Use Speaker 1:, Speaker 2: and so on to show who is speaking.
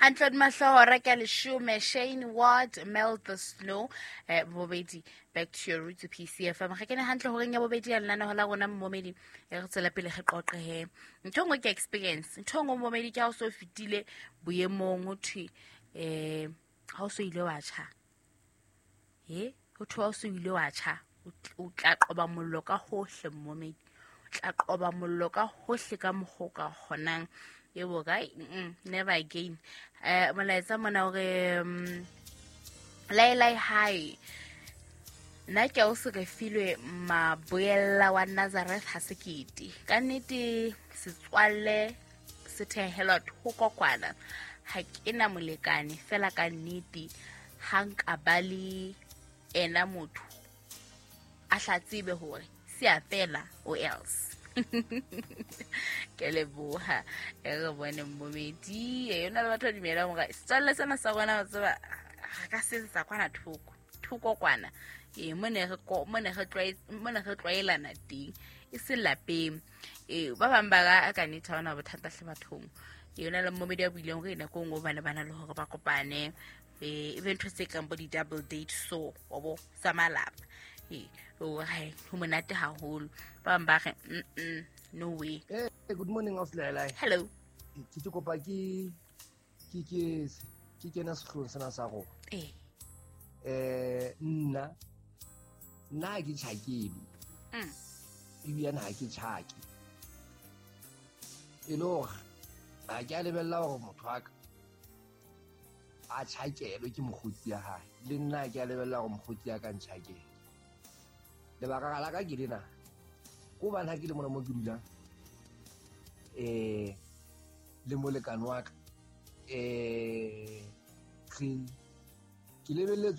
Speaker 1: Hantle mahlohora ke a leshome. Shane Ward, Melt the Snow. Bobedi, back to your roots, PCFM. Ga kene hantle horeng ya bobedi ya lenaneo la rona mmomedi, e re tswela pele re qoqe he. Ntho e nngwe ke experience. Ntho e nngwe mmomedi ke ha o so fetile boemong ho thwe ha o so ile wa tjha. He, ho thwe ha o so ile wa tjha, o tla qoba mollo ka hohle mmomedi. O tla qoba mollo ka hohle ka mokgwa o ka kgonang. Ebo kae? Never again. Molaetsa mona hore lai lai hi. Nna ke o se re filwe maboella wa Nazareth ha sekete. Ka nnete setswalle se thehelwa thoko kwana. Ha ke na molekane fela ka nnete ha nka ba le ena motho a hla tsebe hore se a fela o else. Ke leboha e re bone mmomedi e yona le batho ba dumelang hore setswalle sena sa rona wa tseba re ka se etsetsa kwana thoko thoko kwana ee mo ne re tlwaelana teng e se lapeng. Ee ba bang ba ka nnete ha hona bothata hle bathong. Ee yona le mmomedi a buileng hore nako e nngwe ba ne ba na le hore ba kopane e be ntho tse kang bo di-double date so wa bo tsa malapa. Ee ho monate haholo. Ba bang ba re no way.
Speaker 2: Hey, good morning, Ausi.
Speaker 1: Hello.
Speaker 2: Ke kopa ke kena sehloohong sena sa rona. Nna ha ke tjhakelwe. Ebile ha ke tjhake. E le hore ha ke a lebella hore motho wa ka a tjhakelwe ke mokgotsi ya hae. Le nna ha ke a lebella hore mokgotsi ya ka ntjhakele. Lebaka la ka ke lena. Ke hobane ha ke le mona mo ke dulang le molekane wa ka ke lebelletse